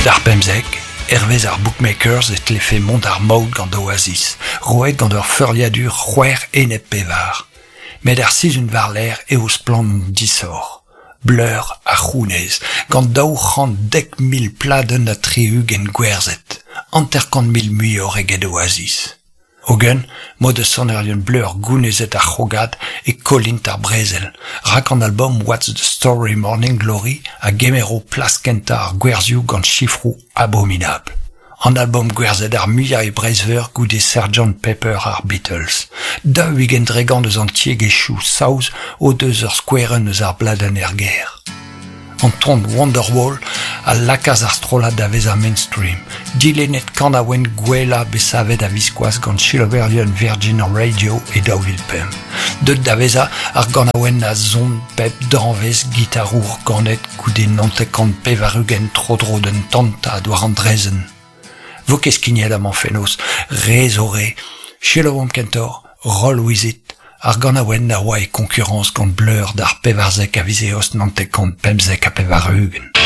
D'ar 15, hervez ar bookmakers e tlefe mont ar maout gant Oasis, roet gant ur feurliadur c'hwec'h enep pevar. Met ar sizhun war-lerc'h eo splann an disoc'h. Blur a c'hounez, gant 210,000 pladenn ha 60 gwerzhet, 50,000 muioc'h eget Oasis. Hogen, m'o deus sonerien Blur gounezet ar c'hrogad e kollint ar brezel, rak an albom What's the Story Morning Glory a gemero plas kentañ ar gwerzhioù gant sifroù abominabl. An albom gwerzhet ar muiañ e Breizh-Veur goude Sgt Pepper ar Beatles. 40% eus an tiegezhioù saoz o deus ur skouerenn eus ar bladenn er gêr. An ton Wonderwall a lakaas ar strollad da vezañ mainstream, dilennet kanaouenn gwellañ bet savet a-viskoazh gant selaouerien Virgin Radio e 2005. Deuet da vezañ ar ganaouenn a son pep danvez gitarour ganet goude 99 tro-dro d'un tantad war an draezhenn. Vo ket skignet amañ fenoz, re zo re. Selaouomp kentoc'h Roll With It, ar ganaouenn a oa e koñkurañs gant Blur d'ar 14 a viz Eost 1995.